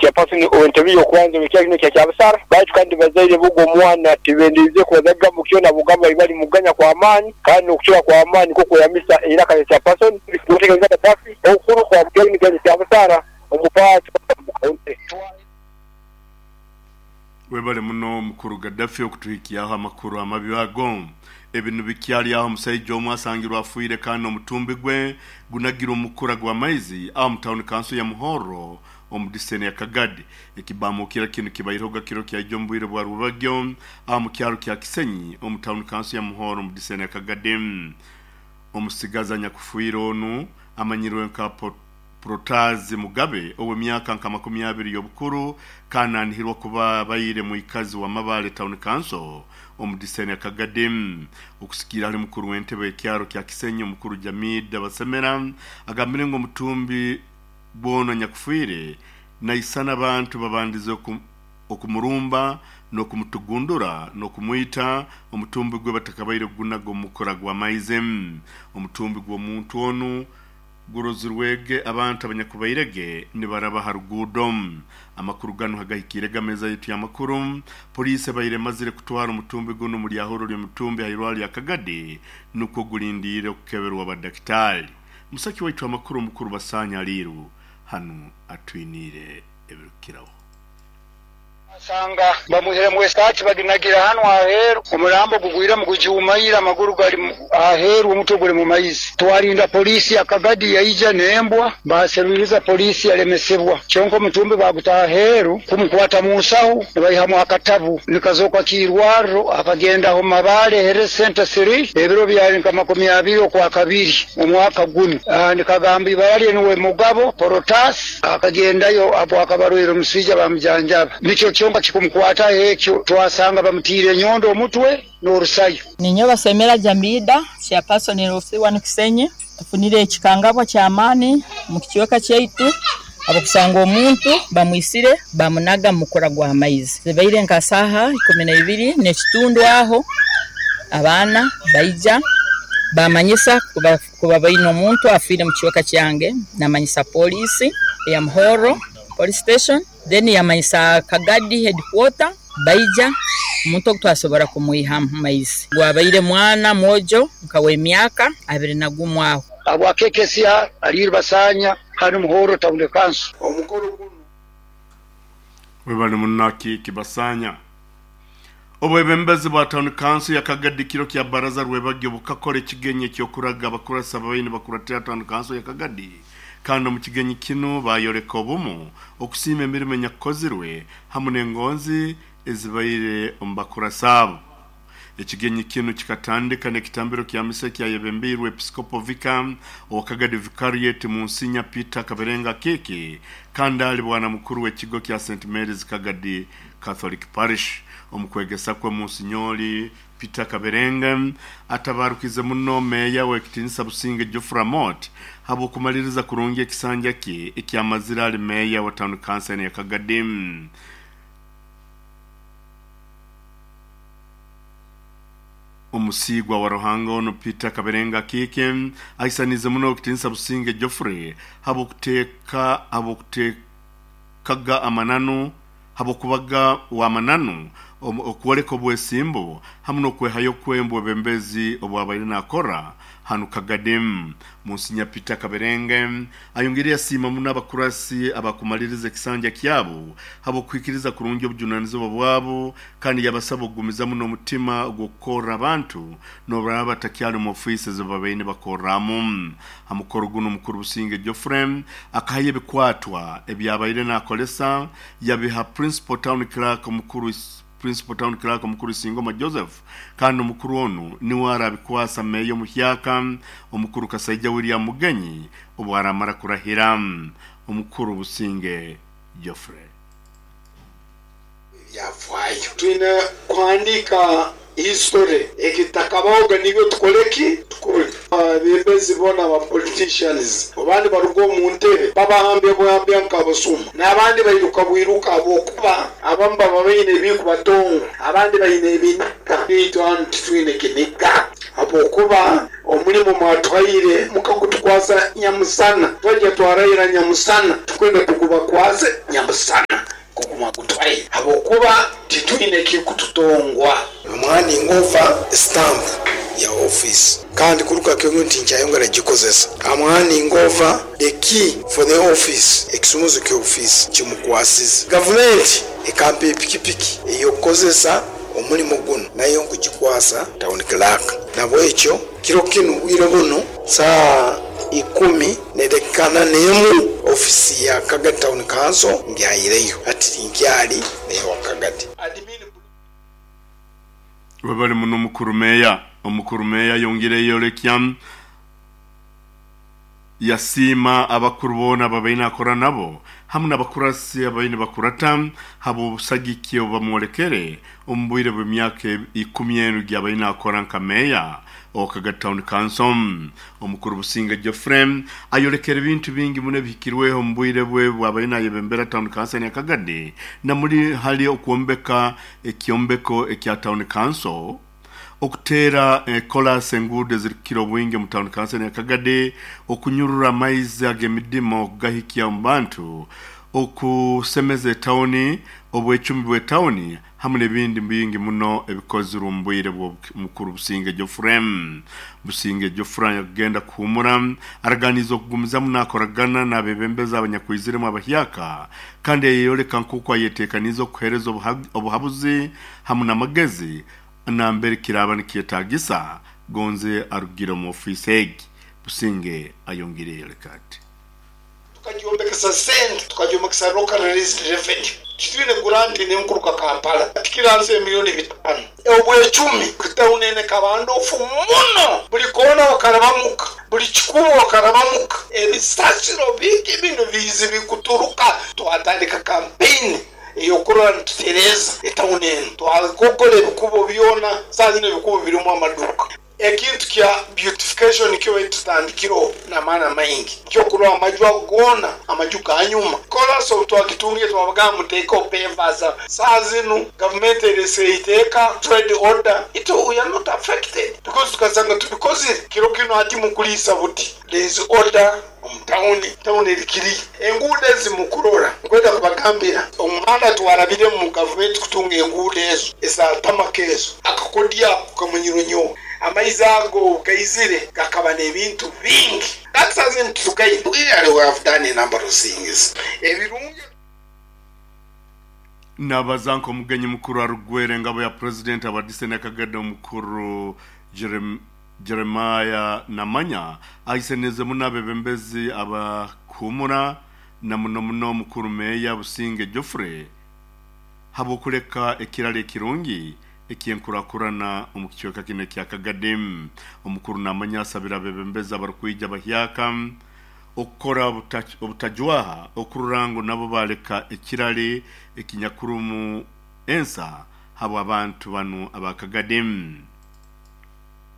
Chairperson ow'entebe y'okubanza ow'ekyaro kinu ekya Kyabusara. Baitu kandi bazaire b'ogu omwana tibendeize kubaza kigambo kyona habw'okugamba bali mukuganya kw'amaani kandi n'okucura kw'amaani nikwo kweyambisa eiraka lya Chairperson Muteganisa Gaddafi obukuru bwa kyaro kinu ekya Kyabusara omu paati omu County. Webale muno mukuru Gaddafi okutuhikyaho amakuru amabi ago. Ebi nibikyali aho omusaija omu asangirwe afiire kandi omutumbi gwe gunagirwe omu mukura gw'amaizi aho omu tawuni kanso ya Muhorro omu diseni ya Kagadi. Ekibamukira kinu kibairehoga kiro kyaija omu bwire bwa rwebagyo aho mu kyaro kya Kisenyi omu tawuni kanso ya Muhorro omu diseni ya Kagadi. Omusigazi anyakufiire onu amanyirwe nka Protazi Mugabe ow'emyaka nka 20 y'obukuru kandi anihirwa kuba abaire mwikazi wa Mabale Town Council omu diseni ya Kagadi. Okusikiira ahali mukuru w'entebe y'ekyaro kya Kisenyi omukuru Jamida Basemera agambire ngu omutumbi gw'onu anyakufiire naisana abantu babandize okumurumba n'okumutugundura n'okumwita omutumbi gwe batakabaire kugunaga omu mukura gw'amaizi. Omutumbi gw'omuntu onu Gurozirwege abantu abanyakubairege nibaraba ha ruguudo. Amakuru ganu hagahikiirege ameeza yaitu y'amakuru, poliisi ebaire emazire kutwara omutumbi gunu omu lyahuro ly'omutumbi ha irwarro lya Kagadi nukwo gulindiire okukeberwa badakitaali. Musaki waitu amakuru omukuru Basanya Aliiru hanu atwiniire ebirukukiraho. Basanga bamwihiremu esaati baginagira hanu aheeru, omurambo gugwiremu gujuumaire, amaguru gali aheeru, omutwe guli mu maizi. Twalinda poliisi ya Kagadi yaija n'embwa, baaserwiriza poliisi yalemesebwa. Kyonka omutumbi baaguta aheeru kumukwata mu nsahu nibaihamu akatabu nikazooka k'irwarro. Akagendaho Mabale Health Centre Three ebiro byali nka 20 Okwakabiri omwaka gunu. Nikagamba ibara lye nuwe Mugabo Porotas. Akagendayo habw'akaba arwaire omuswija baamujanjaba. Nikyo kyonka kikumukwataho ekyo, twasanga bamutiire enyondo omutwe n'orusayo. Ninyowe Basemera Jamida, Chairperson LC wanu Kisenyi. Tufunire ekikangabwa ky'amaani omu kicweka kyaitu habw'okusanga omuntu bamwisire bamunaga mu mukura gw'amaizi. Zibaire nka saaha 12 n'ekitundu aho abaana baija bamanyisa Kuba baine omuntu afiire mu kicweka kyange namanyisa poliisi eya Muhorro Police Station then yamanyisa Kagadi Headquarter baija omuntu ogu twasobora kumwiha mu maizi. Gwabaire mwana mwojo nka w'emyaka 21 aho. Habwa KKCR Aliir Basanya hanu Muhorro Town Council. Webale muno Akiiki Basanya. Obwebembezi bwa Town Council ya Kagadi kiro kya baraza rwebagyo bukakora ekigenyi eky'okuraga abakurasi ababaire nibakuratira Town Council ya Kagadi kandi omu kigenyi kinu bayoreka obumu, okusiima emirimo enyakukozirwe hamu n'engonzi ezibaire omu bakurasi abo. Ekigenyi kinu kikatandika n'ekitambiro kya misa ekyayebembeirwe Episikopo Vicar owa Kagadi Vicariate Munsinya Peter Kaberenga Akiiki kandi ali bwana mukuru w'ekigo kya Saint Mary's Kagadi Catholic Parish. Omu kwegesa kwe Munsinyoli Peter Kaberenge atabarukize muno Meeya w'ekitinisa Businge Geoffrey Amooti habw'okumaliriza kurungi ekisanja kye ekyamazire ali Meeya wa Town Council ya Kagadi. Omusiigwa wa Ruhanga onu Peter Kaberenga Akiiki ahisaniize muno Owekitinisa Businge Geoffrey habw'okuteeka habw'okuteekaga amananu habw'okubaga w'amananu, okwoleka obwesimbu hamu n'okwehayo kwe omu bwebembezi obwabaire nakora hanu Kagadi. Munsinya Peter Kaberenge ayongiire yasiima muno abakurasi abakumaliriza ekisanja kyabo habw'okuhikiriza kurungi obujunanizibwa bwabo kandi yabasaba okugumizamu n'omutima ogw'okukorra abantu n'obu baraaba batakyali omu ofiisi ezi babaire nibakorramu. Ha mukoro gunu Mukuru Businge Geoffrey akahayo ebikwatwa ebyabaire nakolesa yabiha Principal Town Clerk Omukuru Principal Town Clerk Omukuru Isingoma Joseph kandi omukuru onu niwe arabikwasa Meeya omuhyaka Omukuru Kasaija William Mugenyi obwaramara kurahira. Omukuru Businge Geoffrey. Ebyafaayo. Twine kuhandiika history. Ekitakabahoga nibyo tukole ki? Tukole. Abebembezi boona aba politicians oba nibaruga omu ntebe babahambya buhambya nk'abasuma n'abandi bairuka bwiruka ahabw'okuba abamu baba baine ebirikubatonga abandi baine ebiniga. Itwe hanu titwine kiniga ahabw'okuba omurimo mwatuhaire mukagutukwasa nyamusana. Twaija twarahira nyamusana, tukwenda tugubakwase nyamusana. Gutwaire habwokuba titwine ekirikututongwa. Omwani ngova stamp ya office kandi kuruga kiro tinkyayongera gikozesa. Amwani ngova the key for the office, ekisumuzo ky'ofiisi kimukwasize. Gavumenti ekampa epikipiki ey'okukozesa omulimo gunu nayo nkugikwasa Town Clerk. Nabwekyo kiro kinu bwire bunu saaha ikumi n'edakika ana n'emu office ya Kagadi Town Council ngyaireyo. Hati tinkyali meeya wa Kagadi. Webale muno mukuru meeya. Omukuru meeya ayongiire yayolekya yasiima abakuru boona ababaire nakora nabo hamu n'abakurasi ababaire nibakurata habw'obusagiki obubamwolekere omu bwire bw'emyaka ikumi enu gyabaire nakora nka meeya owa Kagadi Town Council. Omukuru Businge Geoffrey ayolekere ebintu bingi muno ebihikirweho omu bwire bwe bwabaire nayebembera Town Council ya Kagadi namuli hali okwombeka ekyombeko ekya Town Council, okuteera kolaasi enguudo ezirikukira obwingi omu Town Council ya Kagadi, okunyurura amaizi ag'emidimo okugahikya omu bantu, okusemeza etawuni, obwecumi bw'etawuni hamu n'ebindi bingi muno ebikozirwe omu bwire bw'omukuru Businge Geoffrey. Businge Geoffrey anyakugenda kuhuumura araganiize okugumizamu nakoragana n'abebembezi abanyakwiziremu abahyaka kandi yayeyoleka nk'oku ayetekaniize okuheereza obuhabuzi hamu n'amagezi nambere kiraaba nikyetagisa gonze arugire omu ofiisi egi. Businge ayongiire yayoleka ati. Tukagyombekesa sente, tukagyombekesa local raised revenue. Titwine grant n'enkuruga Kampala tikiri hansi y'emiliyoni bitano. Obwecumi town eno ekaba ndofu muno, buli koona wakarabamuka, buli kikubo wakarabamuka, ebisasiro bingi binu biizi bikuturuka. Twatandika campaign ey'okurora nitutereeza etown eno. Twagogora ebikubo byona, saaha zinu ebikubo birimu amaduuka. Ekintu kya beautification nikyo baitu tutandikireho n'amaani amaingi, nikyo amaju ago goona amaju ga nyuma. Koraasi obu twagitungire twabagamba muteekeho pavers. Saaha zinu gavumenti eresire eiteeka, trade order, itwe we are not affected because tukasanga tubikozire. Kiro kinu hati mukuliisa buti there is order omu tawuni, tawuni eri kiriya. Enguudo ezi mukurora, nkwenda kubagambira omuhanda twarabiremu gavumenti kutunga enguudo ezo eza tamaka ezo, akakodyo ako kamanyirwe nyowe. Amaizi ago obu gaizire gakaba n'ebintu bingi. Hati saaha zinu titugaine. Really we have done a number of things ebirungi. Nabaza nk'omugenyi mukuru arugwera engabo ya Purezidenti abadise Nakagede omukuru Jeremiah Namanya ahiseneze muno abebembezi abakuhumura na muno muno omukuru Meeya Businge Geoffrey habw'okuleka ekiraro ekirungi eky'enkurakurana omu kicweka kinu ekya Kagadi. Omukuru Namanya asabire abebembezi abarukwija abahyaka okukora obutajwaha okurora ngu nabo baleka ekirari ekinyakurumu ensa habw'abantu banu aba Kagadi.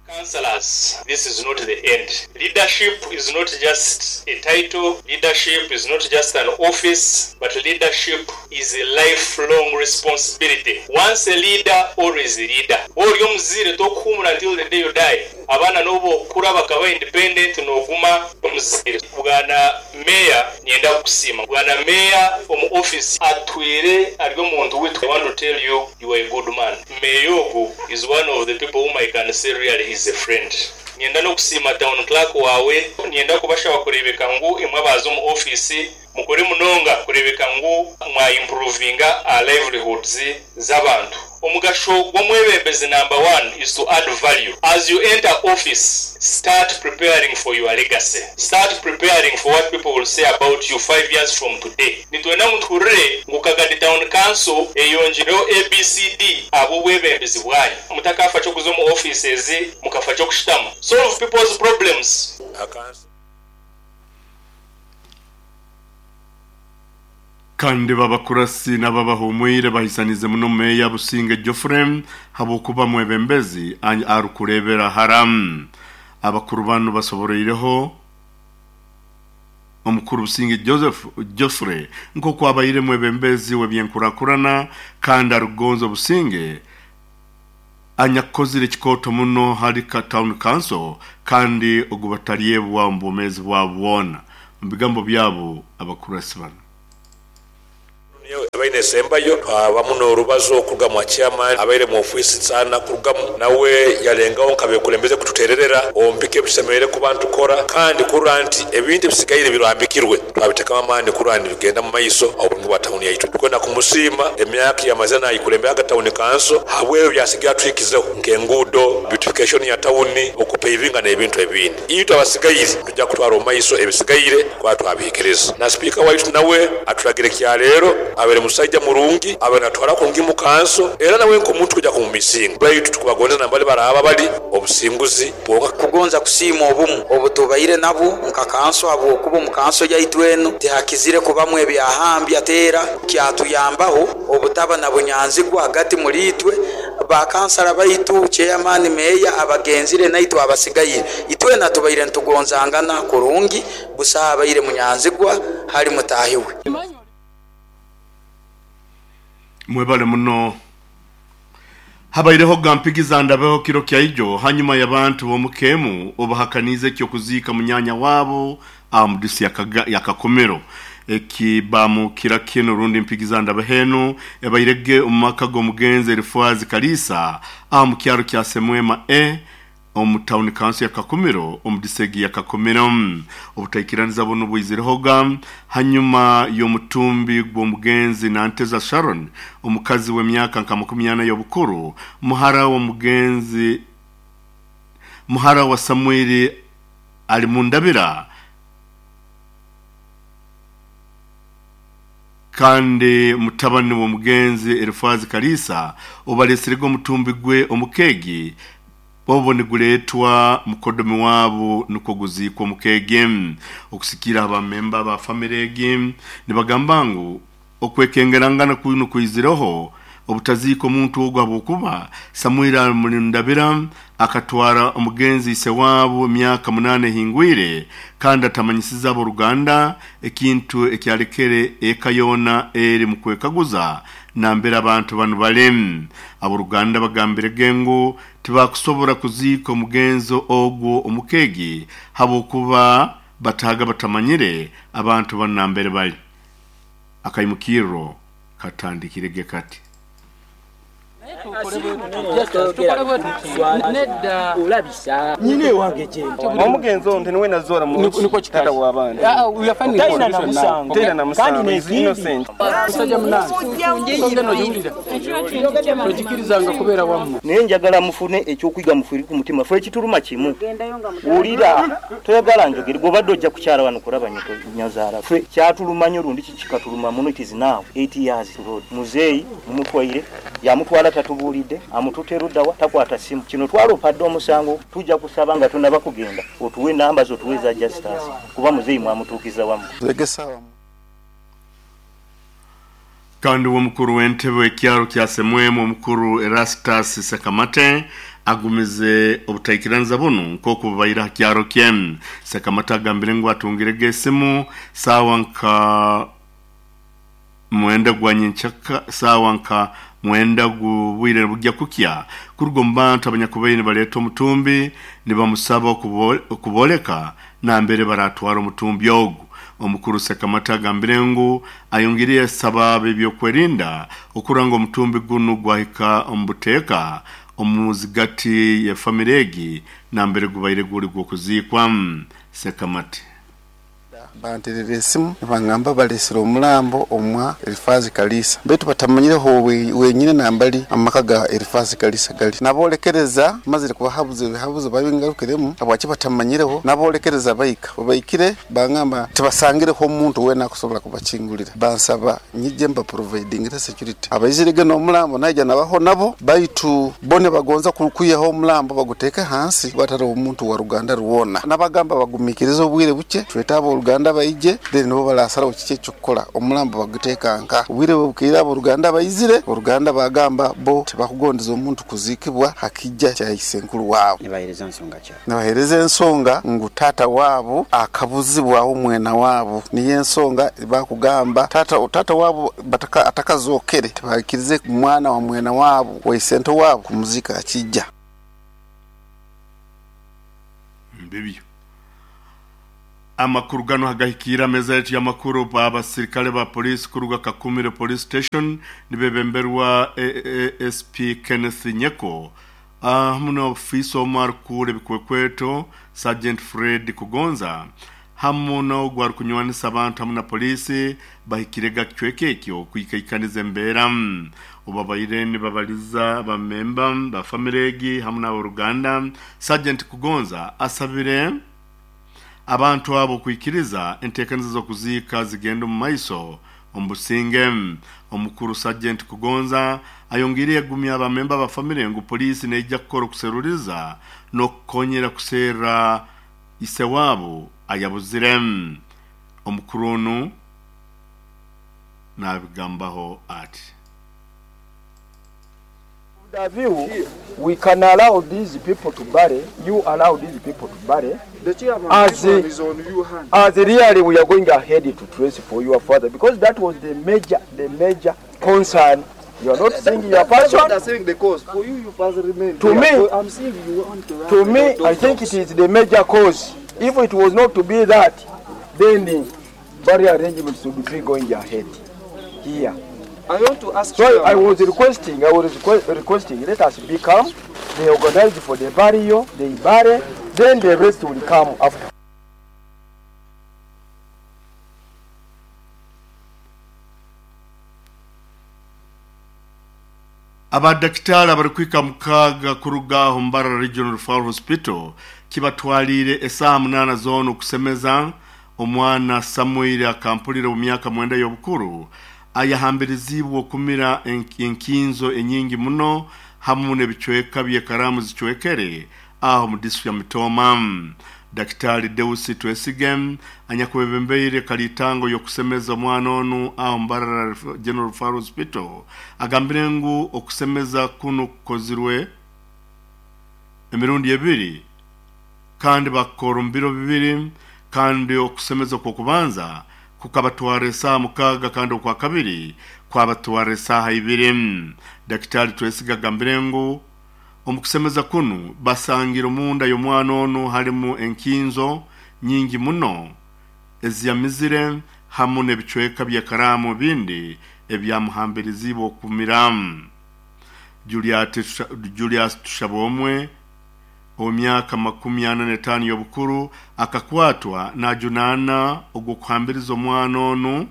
Councillors, this is not the end. Leadership is not just a title, leadership is not just an office, but leadership is a lifelong responsibility. Once a leader, always a leader. Ori omuzaire tokuhumura until the day you die. Abaana n'obu okukura bakaba independent noguma omuzaire. Bwana Meeya niinyenda kukusiima. Bwana Meeya omu office atwire ari omuntu witu. I want to tell you, you are a good man. Meeya ogu is one of the people whom I can say really is a friend. Niinyenda n'okusiima Town Clerk waawe. Niinyenda kubashaba kureebeka ngu imwe abaaza omu ofiisi mukore munonga kureebeka ngu mwa improvinga aha livelihoods z'abantu. Omugasho gw'omwebembezi number one is to add value. As you enter office, start preparing for your legacy. Start preparing for what people will say about you 5 years from today. Nitwenda ngu tuhurire ngu Kagadi Town Council eyongyireho ABCD ahabw'obwebembezi bwanyu. Mutakaafa ky'okuza omu offices, mukafa ky'okushutama. Solve people's problems. Kandi babakurasi n'ababahumwire bahisanize muno Meeya Businge Geoffrey habw'okuba mwebembezi arukureebera hara. Abakuru banu basoboroireho omukuru Businge Joseph Geoffrey nk'oku abaire mwebembezi w'ebyenkurakurana kandi arukugonza obusinge anyakukozire ekikooto muno hali Town Council kandi ogu batalyebwa omu bwomeezi bwabo bwona. Omu bigambo byabo abakurasi banu. Ebaine esembayo twabamu n'orubazo okuruga mwa chairman abaire mu ofiisi sana kurugamu nawe yalengaho nkabekulembeze kututererera omu bika ebitusemereire kuba nitukora kandi kurora nti ebintu ebisigaire birambikirwe twabitekamu amaani kurora nibigenda mu maiso oburungi bwa tawuni yaitu. Tukwenda kumusiima emyaka eyamazire nayikulemberaga tawuni kanso habwebyo byasigaire atuhikizeho nk'enguudo, beautification ya tawuni, okupevinga n'ebintu ebindi. Itwe abasigaire nitwija kutwara omu maiso ebisigaire kuba twabihikiriza. Na Sipiika waitu nawe atulagire kya leero, abaire musaija murungi, abaire natwara kurungi mu kanso era nawe nk'omuntu twija kumumisinga. Baitu tukubagonza nambali baraaba bali, obusinguzi bwonka. Kugonza kusiima obumu obutubaire nabwo nka kanso habwokuba omu kanso yaitu enu tihakizire kubamu ebyahambya teera kyatuyambaho obutaba na bunyanzigwa hagati muli itwe Ba kansala baitu, chairman, meeya, abagenzire naitwe abasigaire, itwena tubaire nitugonzangana kurungi, busaho abaire munyanzigwa hali mutaahi we. Mwebale muno. Habaireho ga mpigiza ndabeho kiro kya ijo hanyuma y'abantu b'omuka emu obahakaniize eky'okuziika munyanya waabo aha mudusi ya Kakumiro. Eki bamukira kinu rundi mpigiza ndabeho enu ebairege omu maka g'omugenzi Erifwazi Kaliisa aha mu kyaro kya Semwema A omu tawuni kanso ya Kakumiro omu disegi ya Kakumiro. Obutaikiraniza bunu bwizirehoga hanyuma y'omutumbi gw'omugenzi Nanteza Sharon, omukazi w'emyaka nka 40 y'obukuru, muhara w'omugenzi muhara wa Samwiri Alimundabira, kandi mutabani w'omugenzi Erifazi Kaliisa obalesirege omutumbi gwe omu keegi obwo niguleetwa mukodomi waabo nukwo guziikwe omu keegi. Okusikiira ha bamemba ba famire egi nibagamba ngu okwekengerangana kunu kwizireho obutaziika omuntu ogu habwokuba Samuiri Alimundabira akatwara omugenzi ise waabo emyaka munaana ehingwire kandi atamanyisize ab'oruganda ekintu ekyalekere eka yoona eri mu kwekaguza nambere abantu banu bali. Ab'oruganda bagambirege ngu tibakusobora kuziika omugenzi ogwo omu keegi habwokuba bataaga batamanyire abantu banu nambere bali. Akaimukirro katandikirege kati. Omugenzi ono niwe nazoora muki taata w'abaana. Taina na musango, is innocent. Naye njagala mufune eky'okuyiga mufiire ku mutima. Ffe ekituluma kimu. Wulira, toyagala njogere. Gwe obadde ojja kukyala wano kulaba nyoko nyazaala. Ffe kyatuluma nnyo lundi ki kikatuluma muno. It is now 8 years road. Muzeeyi mumutwaire, yamutwala tatubuulidde, amututte ludda wa? Takwata ssimu. Kino twaloopa dda omusango. Tujja kusaba nga tonaba kugenda otuwe namba zo otuwe eza Justus kuba muzeeyi mwamutuukiza wamu. Kandi uwe omukuru w'entebe w'ekyaro kya Semwemu omukuru Erastus Sekamate agumize obutaikiraniza bunu nk'oku bubaire ha kyaro kye. Sekamate agambire ngu atungirege esimu saawa nka mwenda gwa nyenkyaka saawa nka mwenda gw'obwire bugya kukya kuruga omu bantu abanyakubaire nibaleeta omutumbi nibamusaba okubooleka nambere baratwara omutumbi ogu. Omukuru Sekamate agambire ngu ayongiire yasaba ab'ebyokwerinda okurora ngu omutumbi gunu gwahika omu buteeka omu zigati ya famire egi nambere gubaire guri gw'okuziikwa. Sekamate. Banterera esimu nibangamba balesire omulambo omwa Elifazi Kaliisa baitu batamanyireho wenyine nambali amaka ga Elifazi Kaliisa gali. Nabolekereza mazire kubahabuza ebihabuzo babingarukiremu habwaki batamanyireho, nabolekereza baika. Obubaikire bangamba tibasangireho omuntu wena akusobora kubakingulira. Bansaba nyije mbaprovidingire security. Abaizirege n'omulambo naija nabaho nabo baitu bo nibagonza kwihaho omulambo baguteeke hansi gwataroho omuntu wa ruganda rwona. Nabagamba bagumikirize obwire bukye twete ab'oruganda baije then nibo barasaraho kiki eky'okukora omulambo baguteeka nka. Obwire bwebukeire ab'oruganda baizire, oruganda bagamba bo tibakugondeza omuntu kuziikibwa ha kija kya isenkuru waabo. Nibahereza nsonga ki? Nibahereza ensonga ngu taata waabo akabuzibwaho mwena waabo. Niyo ensonga bakugamba taata waabo atakazookere tibaikirize mwana wa mwena waabo wa isento waabo kumuziika ha kija. Mbibyo. Amakuru ganu hagahikiire ameza yaitu y'amakuru abasirikale ba poliisi kuruga Kakumire Police Station nibebemberwa ASP Kenneth Nyeko hamu n'ofiisa omu arikukuura ebikwekweto Sergeant Fred Kugonza hamu n'ogu arikunywanisa abantu hamu na poliisi bahikirega kicweka ekyo kwikaikaniza embeera. Obu babaire nibabaliza abamemba ba famire egi hamu n'aboruganda, Sergeant Kugonza asabire abantu abo kwikiriza enteekaniza z'okuziika zigenda omu maiso omu businge. Omukuru Sergeant Kugonza ayongiire yagumya abamemba ba famire ngu poliisi neija kukora okuseruriza n'okukonyera kuserra ise waabo ayabuzire. Omukuru onu nabigambaho ati. The view, we can allow these people to bury, you allow these people to bury, The chairman, as, this one is on your hand. as really we are going ahead to trace for your father, because that was the major concern. You are not seeing your That's what person. they're saying the cause. For you, you first remain. To there. me- So I'm seeing you want to To me, I think it is the major cause. If it was not to be that, then the burial arrangements would be going ahead here. I want to ask So I chairman. was requesting, I was requesting, let us become, they organize for the burial, they bury, then the rest will come after. Abadakitari abarikwika mukaaga kuruga aho Mbarara Regional Referral Hospital kibatwaliire esaaha 8 zoona okusemeza omwana Samuel akampulire omu myaka 9 y'obukuru ayahambirizibwe okumira enkinzo enyingi muno hamu n'ebicweka by'ekaramu zicwekere aho mu district ya Mitooma. Daktari Deusi Twesige anyakwebembeire kalitango y'okusemeza omwana onu aho Mbarara General Referral Hospital agambire ngu okusemeza kunu kukozirwe emirundi ebiri kandi bakora omu biro bibiri, kandi okusemeza kw'okubanza kukabatwara esaaha 6 kandi okwa kabiri kwabatwara esaaha 2. Daktari Twesige agambire ngu omu kusemeza kunu basangire omunda y'omwana onu harimu enkinzo nyingi muno eziyamizire hamu n'ebicweka by'ekaramu bindi ebyamuhambirizibwe okumira. Julius Tushabomwe ow'emyaka 45 y'obukuru akakwatwa najunaana ogw'okuhambiriza omwana onu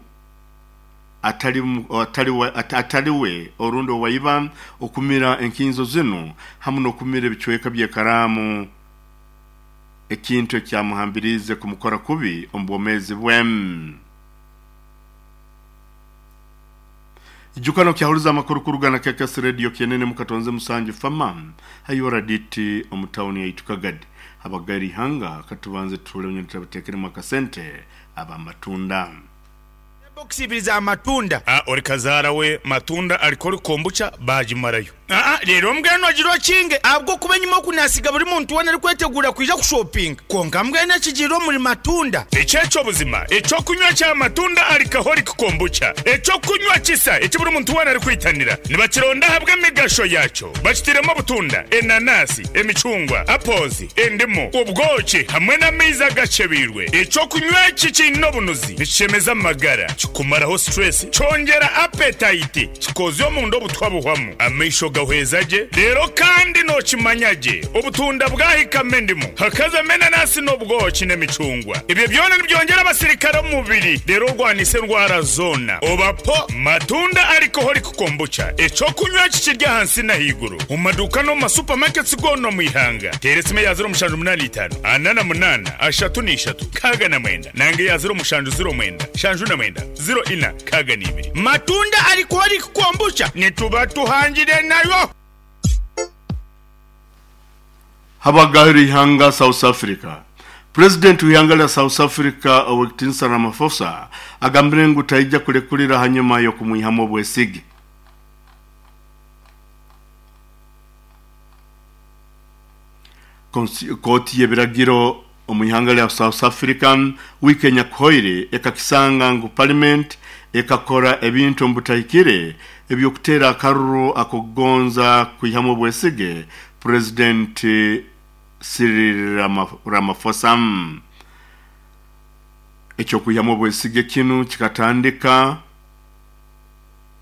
atali we orundi owaiba okumira enkinzo zinu hamu n'okumira ebicweka by'ekaramu, ekintu ekyamuhambirize kumukora kubi omu bwomeezi bwe. Ijukano kyahuliza amakuru kuruga na KKS Radio Kienene mukatonze musanju fama hayora diti omutawuni yaitu Kagadi. Abagari hanga katubanze tule nyo akasente abamatunda Box za matunda. Ori kazara we matunda alikori kombucha bajimarayo. Rero mbwenu agiro kinge abwo kuba nyuma kunasiga buri muntu wona ari kwetegura kuja kushopping. Konka mbwenu ekigiro muri matunda. Echecho buzima, echo kunywa cha matunda alcoholic kombucha. Echo kunywa kisa eki buri muntu wona ari kwitanira. Nibakironda habwe emigasho yacho. Bakitiremo butunda, enanasi, emicungwa, apples, endimu, ubwoki hamwe n'amaizi agacebirwe. Echo kunywa eki kiine obunuzi nikishemeza amagara, kikumaraho stress, kyongera appetite, kikozya omunda obutwa buhwamu, amaisho gahweza gye. Rero kandi nokimanya gye, obutunda bwahikamo endimu, hakazamo enanasi n'obwoki n'emicungwa. Ebyo byona nibyongera abasirikare omu mubiri, rero orwanisa endwara zoona. Obapo matunda alcoholic kombucha, ekyokunywa kikirya ahansi n'ahaiguru, omu maduuka n'omu masupamaketi goona omu ihanga. Teera esimu eya 0785 48 33 69 nange eya 0709 79 04 62. Matunda alcoholic kombucha nituba tuhangire nayo. Habagahiri ihanga South Africa. President w'ihanga lya South Africa Owekitinsa Ramaphosa agambire ngu taija kulekulira hanyuma y'okumwihamu obwesige. Kooti y'ebiragiro omu ihanga lya South Africa wiiki enyakuhoire ekakisanga ngu parliament ekakora ebintu omu butahikire eby'okuteera akaruru ak'okugonza kwihamu obwesige President Cyril Ramaphosa. Eky'okwihamu obwesige kinu kikatandika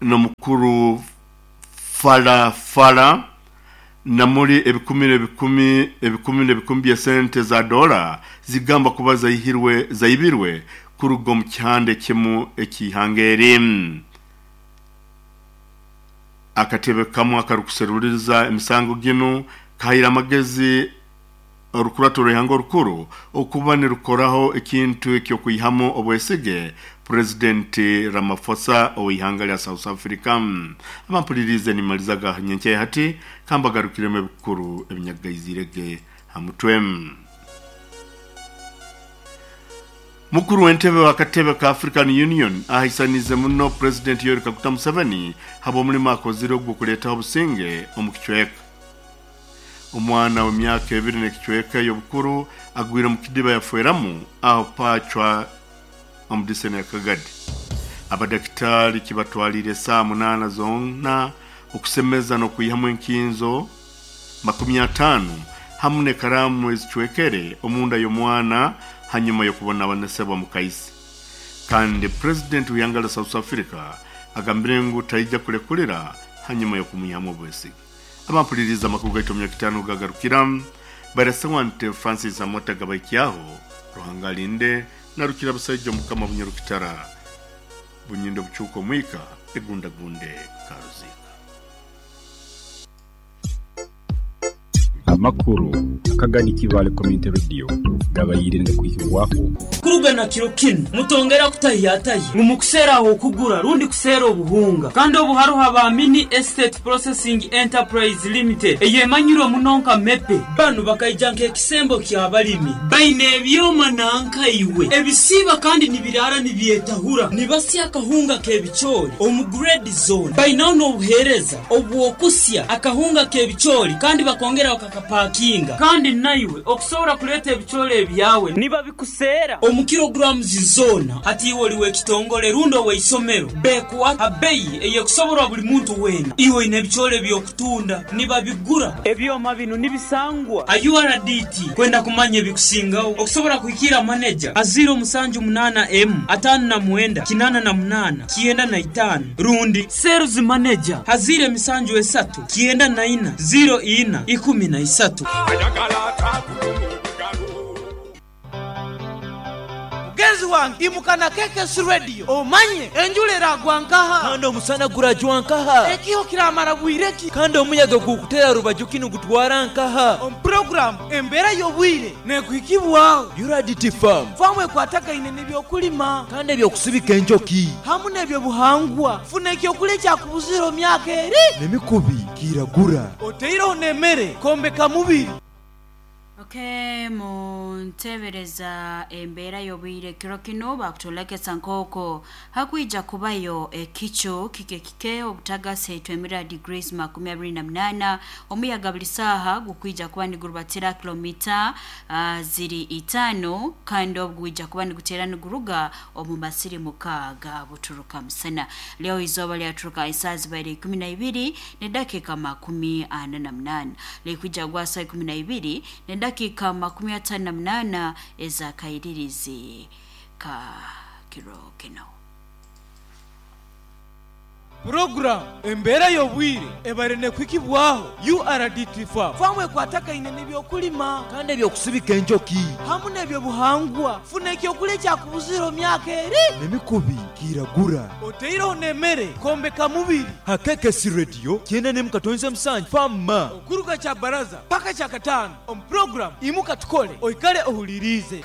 n'omukuru Phala Phala namuli ebikumi n'ebikumi ebikumi n'ebikumi by'esente za dola zigamba kuba zaihirwe zaibirwe kuruga omu kihanda ekimu eky'ihanga eri. Akatebe kamu akarukuseruliriza emisango ginu kahaire amagezi orukurato rw'ihanga orukuru okuba nirukoraho ekintu eky'okwihamu obwesige Purezidenti Ramaphosa ow'ihanga lya South Africa. Abampuliriize nimalizaga nyenkya ya hati kambagarukiremu ebikuru ebinyagaizirege ha mutwe. Mukuru w'entebe w'akatebe ka African Union ahaisaniize muno Purezidenti Yoweri Kaguta Museveni habw'omulimo akozire ogw'okuleetaho obusinge omu kicweka. Omwana w'emyaka ebiri n'ekicweka ey'obukuru agwire omu kidiba yafeeramu aho Pacwa omu diseni ya Kagadi. Abadakitaali kibatwaliire esaaha munaana zoona okusemeza n'okwihamu enkinzo 50 hamu n'ekaraamu ezicwekere omunda y'omwana hanyuma y'okubonabonesebwa mukaisi. Kandi Purezidenti w'ihanga lya South Africa agambire ngu taija kulekulira hanyuma y'okumwihamu obwesige. Abampuliriize amakuru gaitu omu Nyakitaano gagarukira Barasa Nte Francis Amota gabaikyaho Ruhanga alinde narukira abasaija omukama Bunyarukitara Bunyindo bucuuka omwika egundagunde Karuziika. Amakuru akagani Kibaale Community Radio gabaire nigakwihibwaho. Kuruga na kiro kinu, mutongera kutahiyatahya ngu mukuseera ah'okugura rundi kuseera obuhunga. Kandi obu haroho aba Mini Estate Processing Enterprise Limited eyemanyirwe muno nka MEPE. Banu bakaija nk'ekisembo ky'abalimi. Baine ebyoma nanka iwe ebisiiba kandi nibiraara nibyetahura. Nibasya akahunga k'ebicoori omu grade zoona. Bainaho n'obuheereza obw'okusya akahunga k'ebicoori kandi bakongera bakakapakinga. Kandi naiwe okusobora kuleeta ebicoori ebyawe nibabikuseera omu kilograms zoona. Hati iwe oli w'ekitongole rundi ow'eisomero, bekuha ha beyi ey'ekusoborwa buli muntu weena. Iwe oine ebicoori eby'okutunda, nibabigura. Ebyoma binu nibisangwa ha URDT. Kwenda kumanya ebikusingaho, okusobora kuhikiira maneja ha 078 emu 59 88 95 rundi Sales Manager ha 073 94 04 13. Mugenzi wange imuka na KKC Radio omanye enjura eragwa nkaha? Kandi omusana gurajwa nkaha? Ekiho kiramara bwire ki? Kandi omuyaga gukutera rubaju ki nigutwara nkaha? Omu puroguramu Embeera y'obwire nekuhikibwaho. URDT Farm. Faamu ekwatagaine n'ebyokulima. Kandi eby'okusibika enjoki. Hamu n'ebyobuhangwa. Funa ekyokulya ekyakubuzire omu myaka eri. N'emikubi kiragura. Oteireho n'emere kwombeka mubiri. Ok, muntebereza embeera y'obwire kiro kinu bakutolekesa nk'oko hakwija kubayo ekicu kike kike obutagasi etwemira degrees 28, omuyaga buli saaha gukwija kuba nigurubatira kilomita ziri 5 kandi obu gwija kuba niguteera niguruga omu masiri mukaaga buturuka musana. Leo izooba lyaturuka esaaha zibaire 12 n'edakiika 48, likwija gwa saa 12 n'edakiika 58 ez'akairirizi ka kiro kinu. Puroguramu Embeera y'Obwire ebaire nekuhikibwaho URDT Farm. Faamu ekwatagaine n'ebyokulima. Kandi eby'okusibika enjoki. Hamu n'ebyobuhangwa. Funa ekyokulya ekyakubuzire omu myaka eri. N'emikubi kiragura. Oteireho n'emere kwombeka mubiri. Ha KKC Radio 97.7 Farm Ma. Okuruga Kyabaraza paka Kyakataano omu puroguramu Imuka Tukole oikale ohuliriize.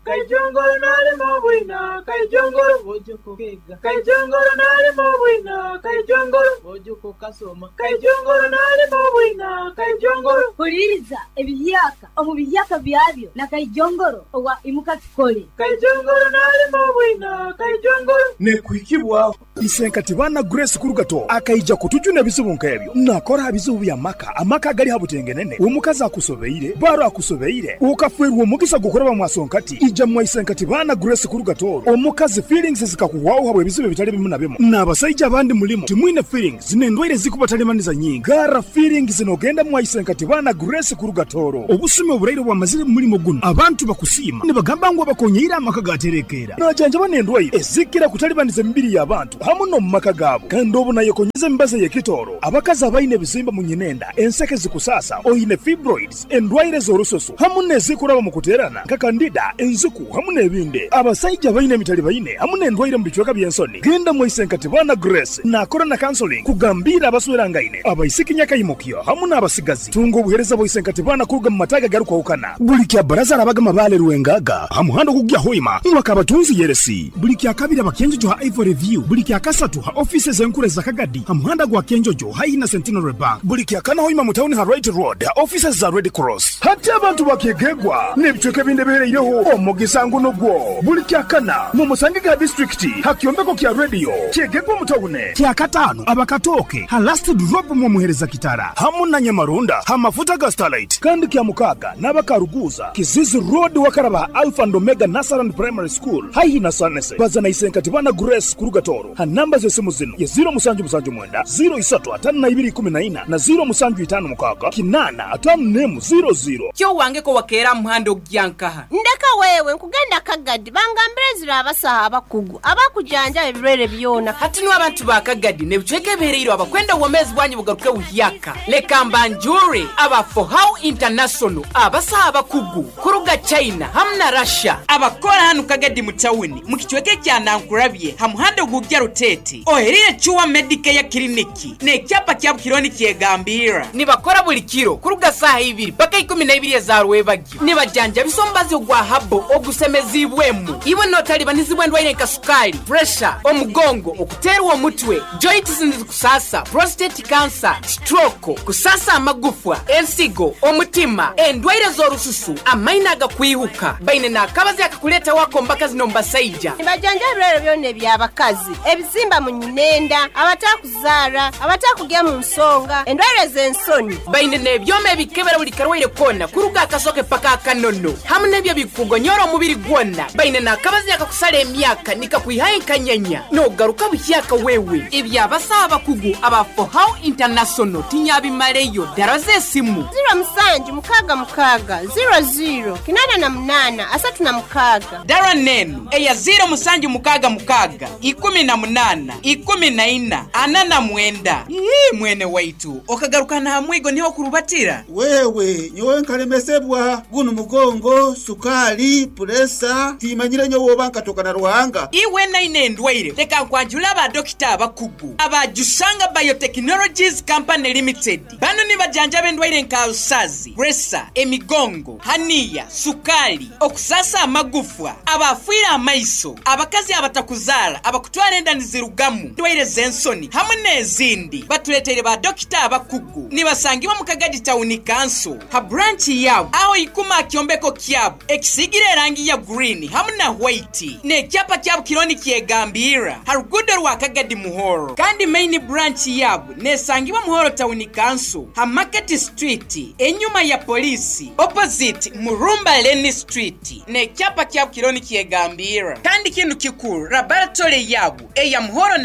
Kaijongoro nalima obwina, Kaijongoro Bojuko kega, Kaijongoro nalima obwina, Kaijongoro Bojuko kasoma, Kaijongoro nalima obwina, Kaijongoro. Huliriza ebihyaka omu bihyaka byabyo na Kaijongoro owa Imuka Tukole. Kaijongoro nalima obwina, Kaijongoro. Nekuhikibwaho. Isenkati baana Grace Kurugato akaija kutujuna ebizibu nk'ebyo. Nakora aha bizibu by'amaka, amaka agali ha butengenene, omukazi akusobeire, baro akusobeire, okafeerwa omugisa gw'okuraba mwasonkati, ija mwa Isenkati baana Grace Kurugato omukazi feelings zikakuhwaho habw'ebizibu ebitali bimu na bimu. N'abasaija abandi mulimu timwine feelings. Feelings n'endwaire ezikubatalibaniza nyingi. Gara Feelings n'ogenda mwaise nkatibana Grace kuruga Toro. Obusumi oburaire bwamazire mu mulimo guno abantu bakusiima nibagamba ngu abakonyeire amaka gaterekeera. Najanjaba n'endwaire ezikira kutalibaniza emibiri y'abantu hamu n'omu maka gaabo. Kandi obu nayekonyeza emibazi ey'ekitooro, abakazi abaine ebizimba mu nyinenda, enseke zikusaasa, oine fibroids, endwaire z'orususu hamu n'ezikuraba mu kuteerana nka kandida, enziku hamu n'ebindi. Abasaija abaine emitalibaine hamu n'endwaire mu bicweka by'ensoni, genda mwaise Nkatibana Grace naakora na counseling kugambiira abaswerangaine, abaisiki nyakaimukyo hamu n'abasigazi. Tunga obuheereza bwa Isenkatibana kuruga mu mataagi agarukwahukana. Buli kya Baraza arabaga Mabaale Rwengaga ha muhanda ogukugya Hoima mwaka abatunzi Yeresi. Buli kya Kabiri aba Kyenjojo ha Ivory View. Buli kya Kasatu ha ofiisi ez'enkuru eza Kagadi ha muhanda gwa Kyenjojo haihi na Centenary Bank. Buli kya Kana Hoima mu tawuni ha Wright Road ha ofiisi za Red Cross. Hati abantu ba Kyegegwa n'ebicweka ebindi ebihereireho omugisa ngu nugwo. Buli kya Kana mumusangege ha disiturikiti ha kyombeko kya rediyo Kyegegwa mu tawuni. Kya Kataano aba Katooke ha Last Drop mwomuhereza Kitara hamu na Nyamarunda ha mafuta ga Starlight. Kandi kya Mukaaga n'aba Karuguuza, Kizizi Road wakaraba ha Alpha and Omega Nursery and Primary School haihi na Sanese. Baza na Isenkatibana Grace kuruga Tooro ha namba z'esimu zinu ye 0779 0352 14 na 0756 851 00. Kyo wange ko wakeera aha muhanda okugya nkaha? Ndeka wewe, nkugenda Kagadi bangambire ezira abasaho abakugu abakujanjaba ebirwaire byona. Hati nu abantu ba Kagadi n'ebicweka ebihereirwe abakwenda obwomeezi bwanyu bugaruke buhyaka, leka mbanjure aba Fohow International abasaho abakugu kuruga China hamu na Russia abakora hanu Kagadi mu tawuni mu kicweka ekya Nankurabye ha muhanda ogugya Ruteete oherire Chua Medicare Clinic n'ekyapa kya Bukironi kyegambirra. Nibakora buli kiro kuruga saaha ibiri paka 12 eza rwebagyo. Nibajanjabisa omubazi ogwa habo ogusemeziibwemu. Iwe n'otalibanizibwa endwaire nka sukaali, puresha, omugongo, okuteerwa omutwe, joints nizikusaasa, prostate cancer, stroke, kusaasa amagufwa, ensigo, omutima, endwaire z'orususu, amaino agakwihuka. Baine n'akabazi akakuleetaho ako omu bakazi n'omu basaija. Nibajanjaba ebirwaire byona eby'abakazi, ebizimba mu nyinenda, abatakuzaara, abatakugya mu nsonga, endwaire z'ensoni. Baine n'ebyoma ebikebera buli karwaire koona kuruga akasoke paka akanono hamu n'ebyo ebikugonyora omubiri gwona. Baine n'akabazi akakusara emyaka nikakwihayo enkanyanya n'ogaruka buhyaka wewe. Eby'abasaho abakugu aba Fohow International tinyabimaleyo. Daraza esimu. 0766 00 88 36. Dara nenu eya 0766 18 14 49. Ii mwene waitu okagaruka na mwigo niho okurubatira. Wewe nyowe nkalemesebwa gunu mugongo, sukali, puresa, timanyire nyowe oba nkatoka na Ruhanga. Iwe naine endwaire leka nkwanjule aba dokita abakugu aba Jusanga Biotechnologies Company Limited. Bano nibajanjaba endwaire nka alusazi, puresa, emigongo, haniya, sukali, okusasa amagufwa, abafiire amaiso, abakazi abatakuzaara, abakutwara enda nizirugamu, endwaire z'ensoni hamu n'ezindi. Batuleteire ba dokita abakugu. Nibasangibwa mu Kagadi Town Council ha branch yaabo aho ikuma aha kyombeko kyabo ekisiigire erangi ya green hamu na white n'ekyapa kyabo kiriho nikyegambirra ha ruguudo rwa Kagadi Muhoro. Kandi main branch yaabo nesangibwa Muhoro Town Council ha Market Street enyuma ya poliisi opposite Murumba Lane Street n'ekyapa kyabo kiriho nikyegambirra. Kandi kinu kikuru laboratory yaabo eya Muhoro na